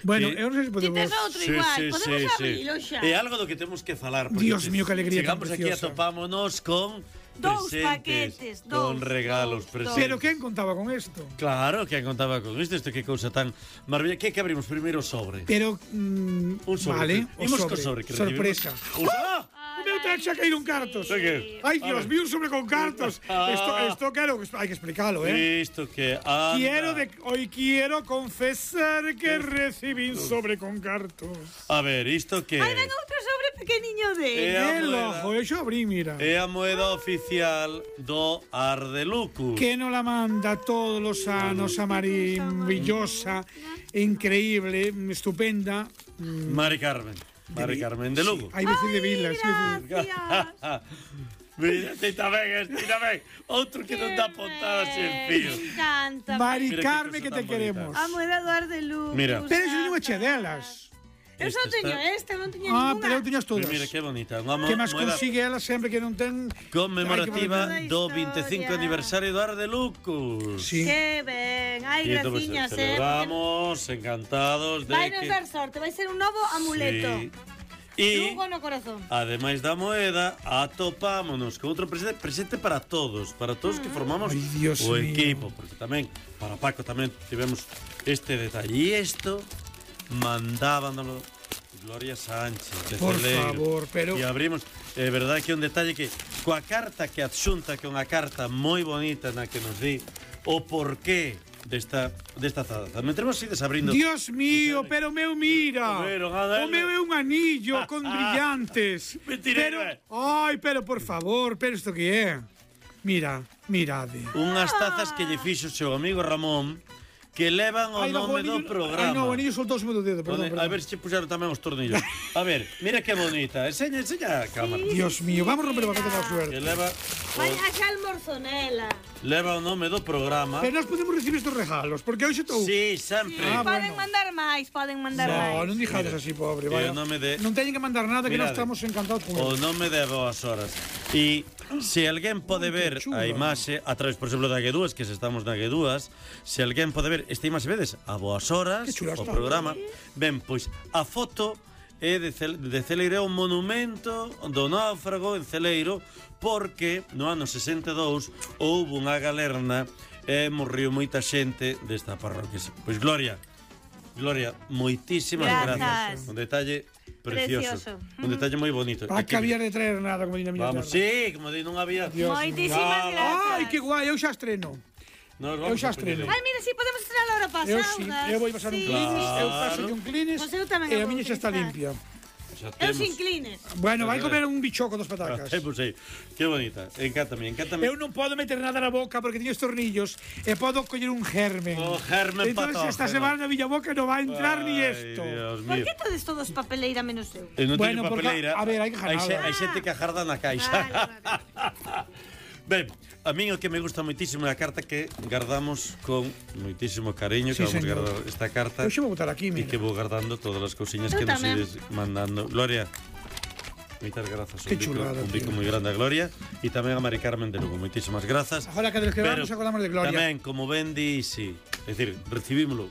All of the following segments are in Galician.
Bueno, que... eu non sei se podemos... Ti tes outro igual, podemos abrilo xa. É algo do que temos que falar. Dios mío, que alegría tan chegamos aquí a preciosa. topámonos con Dous presentes, paquetes, con dous, regalos dous, presentes. Pero quen contaba con isto? Claro, que contaba con isto que cousa tan maravillosa. Que abrimos primeiro o sobre? Pero, Un sobre. vale, o Imos co sobre. sobre que Sorpresa. ¡Ah! O meu ten xa caído un cartos. Sí. Que? Ai, Dios mío, un sobre con cartos. Esto quero, hai que explicarlo, Isto que anda. Hoy quiero confesar que recibí un sobre con cartos. A ver, isto que Ai, ven outro sobre pequeniño de... Que lojo, eu xa abrí, mira. é a moeda oficial do Ardelucus. Que nos la manda todos los anos a maravillosa, increíble, estupenda. Mari Carmen. Mari Carmen de Lugo. Hai veces de Vilas. Gracias. Mira, ti tamén. Outro que non dá pontadas en fío. Me encanta. Mari Mira que Carmen, cosa que te tan queremos. A moeda do Ardelucus. Mira. Pero eso non é che delas. Eu só Esta teño está- non teño Ah, ninguna. pero eu tiñas todas. Mira que bonita. Unha Que máis moeda consigue ela sempre que non ten... conmemorativa Ai, que do bonita 25 historia. aniversario do Ardelucus. Sí. Que ben. Ai, E entón, graciñas, celebramos, encantados de Vai nos que... dar sorte, vai ser un novo amuleto. Sí. E Lugo no corazón. ademais da moeda, atopámonos con outro presente para todos que formamos Ai, Dios o mío. equipo, porque tamén para Paco tamén tivemos este detalle. E isto mandábanlo Gloria Sánchez de Por Celeiro. favor, pero- E abrimos, é verdade que é un detalle que coa carta que adxunta, que é unha carta moi bonita na que nos di o porqué desta taza. Mentremos ides abrindo. Dios mío, pero o meu mira. Pero, a ver. O meu é un anillo con brillantes. Mentira, Pero por favor, pero isto que é? Mira, mirade. Unhas tazas que lle fixo o seu amigo Ramón que levan o nome do programa. Ai, no, o anillo soltouse do dedo, perdón. A ver se puxeron tamén os tornillos. A ver, mira que bonita. Enseña a cámara. Dios mío, vamos a romper o paquete da Que suerte. leva Vai a xa almorzonela. o nome do programa. Pero nós podemos recibir estes regalos, porque hoxe estou... Sí, sempre. Ah, Poden bueno. mandar máis, poden mandar No, máis. non dijades así, pobre, E vaya. o nome de- Non teñen que mandar nada, que nós Mirade. estamos encantados con O ele. nome de Boas Horas. E se alguén pode Ai, ver que chulo. a imaxe a través, por exemplo, da G2, que se estamos na G2, se alguén pode ver esta imaxe, vedes, a Boas Horas, Que chula o está. programa, ben, pois a foto é de Celeiro, é un monumento do náufrago en Celeiro, porque no ano 62 houve unha galerna e morriu moita xente desta parroquia. Pois Gloria, moitísimas Grazas. grazas. Un detalle precioso. Precioso. Un detalle moi bonito. Para E que- que había de traer nada, como diría a miña Vamos, terra. sí, como di, non había. Dios Moitísimas mío. grazas. Ai, que guai, eu xa estreno. Nos Eu xa a poñer estreno. aí. Ai, mira, si podemos estrenar a hora pasada. Eu sí, eu vou pasar un clinis, eu paso un clinis Pois eu tamén e a vou miña xa está utilizar. limpia. Xa Eu temos. sin clines. Bueno, vai comer un bichoco dos patacas. Temos aí. Que bonita. Encántame. Eu non podo meter nada na boca porque teño os tornillos e podo coller un germen. O germen Entonces esta patógeno. semana na miña boca non vai entrar ni Ay, esto. Dios Por mío. que todos papeleira menos eu? E non Bueno, teño porque, papeleira. a ver, hai que janala. Hai xente que ajarda na caixa. Vale. Ben, a min o que me gusta moitísimo é a carta que guardamos con moitísimo cariño, Sí, que vamos señor. guardar esta carta. Eu xa vou botar aquí, E mira. que vou guardando todas as cousiñas Eu que nos tamén. ides mandando. Gloria, moitas grazas. Que chulada, un bico tío. moi grande a Gloria e tamén a Mari Carmen de Lugo. Moitísimas grazas. Agora que desquedamos acordamos de Gloria. Tamén, como ben di, sí. É dicir, recibímolo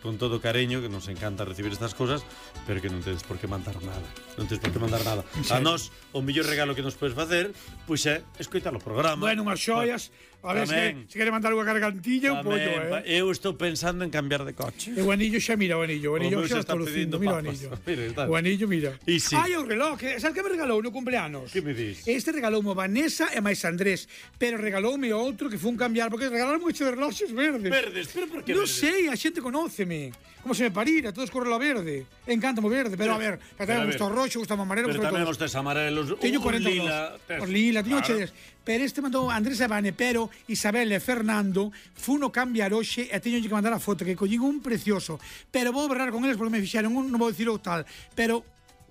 con todo cariño, que nos encanta recibir estas cosas, pero que non tedes por que mandar nada. Non tedes por que mandar nada. A nós, o mellor regalo que nos podes facer, pois é escoitar o programa. Bueno, unhas xoias. A ver Tamén. se quere mandar unha gargantilla, un pollo, Tamén, eu estou pensando en cambiar de coche. E o anillo xa mira o anillo. O anillo meu xa xa está está lucindo. pedindo Mira o papas. anillo. Mira, está. O anillo, mira. E sí. Ai, o reloj. Sabes que me regalou no cumpleanos? Que me dis? Este regaloume Vanessa e máis Andrés. Pero regaloume outro que fun cambiar. Porque regalaron moito de reloxes verdes. Verdes, pero por que Non verdes? sei, a xente conóceme. Como se me parira, todos con reloj verde. Encántame o verde. Pero a ver, que pero a tamén ver. gusta o roxo, gusta o amarelo, Pero gusta tamén todo. os tes amarelos. Teño un 42. lila. Os lila, teño Claro. chedes. Pero este mandou Andrés e Vane, pero Isabel e Fernando funo cambiar hoxe e teño que mandar a foto que collín un precioso. Pero vou berrar con eles porque me fixeron un, non vou dicir o tal, pero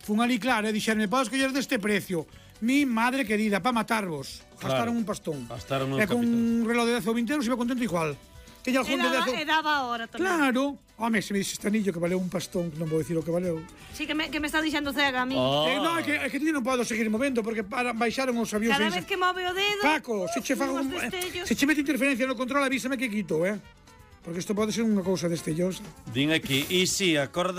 fun ali claro e dixeronme, podes coller deste precio. Mi madre querida, para matarvos. Claro. Gastaron un pastón. Gastaron un E con un capital. reloj de 10 ou 20 euros iba contento igual. Teño algún de 10 E daba a hora tamén. Claro. Home, se me dixe este anillo que valeu un pastón, non vou dicir o que valeu. Sí, que me está dixendo cega a mí. Oh. No, é que eu non podo seguir movendo porque baixaron os avións. Cada aí. vez que move o dedo... Paco, se che fago unhos destellos. se che mete interferencia no control, avísame que quito, Porque isto pode ser unha cousa destellosa. Din aquí, e si, acorda